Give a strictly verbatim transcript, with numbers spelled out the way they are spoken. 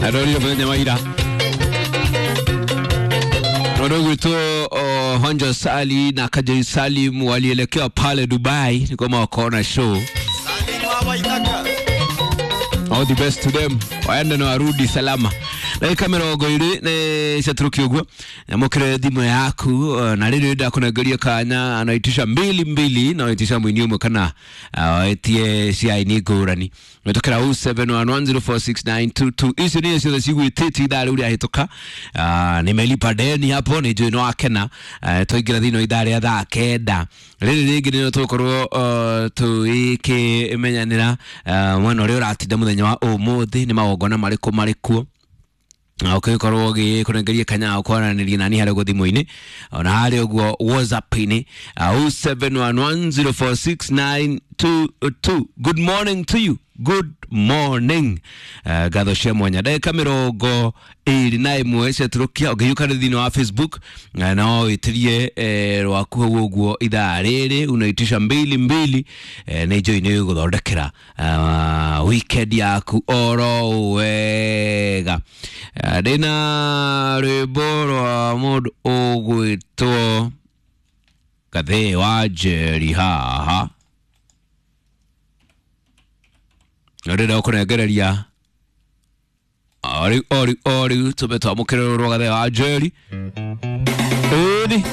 Arorire muthenya wa ira Wanogwitwo uh, Honjo Sali na Kajoi Salim walielekea pale Dubai ni kwamba wakaona show. All the best to them, waende na warudi salama. Ndagĩka mĩrongo ĩrĩ nĩ ciatũrũkia ũguo, nyamũkĩre thimũ yaku uh, na rĩrĩ ndakũnengeria kanya anaitisha mbili mbili na waitisha mwini ũmwe kana uh, waitie cia aini ngũrani wĩtũkĩra oh seven one one zero four six nine two two. Icio nĩcio ciothe cigwĩtĩtie ithaa rĩu rĩahĩtũka. uh, nimelipa deni hapo nĩ njũĩ nĩ wakena. uh, twaingĩra thĩinĩ wa ithaa rĩa thaa kenda rĩrĩ rĩngĩ nĩrĩo tũgũkorwo uh, tũgĩkĩmenyanĩra uh, mwena ũrĩa ũratinda mũthenya wa ũmũthĩ nĩ magongona marĩkũ marĩkuo na ũgĩkorwo ũgĩkũnengeria kanya ga kwaranĩria nani harĩa ũguo thimũ-inĩ ona harĩa ũguo whatsapp-inĩ oh seven one one zero four six nine two two. Good morning to you, good morning. uh, ngatho cia mwanya ndagĩka mĩrongo ĩrĩ na ĩmwe ciatũrũkia ũngĩhiũka thĩinĩ wa Facebook uh, no wĩtĩrie eh, rwaku hau ũguo ithaa rĩrĩ unaitisha mbili mbili eh, nĩ njũĩ nĩ gũthondekera uh, weekend yaku oro wega. uh, ndĩna rwĩmbo rwa mũndũ ũgwĩtwo Gathee wa Njeri haha ndĩrenda gũkũnengereria o rĩu o rĩu o rĩu tũme twamũkĩre rũrũ rwa Gathee wa Njeri ĩni.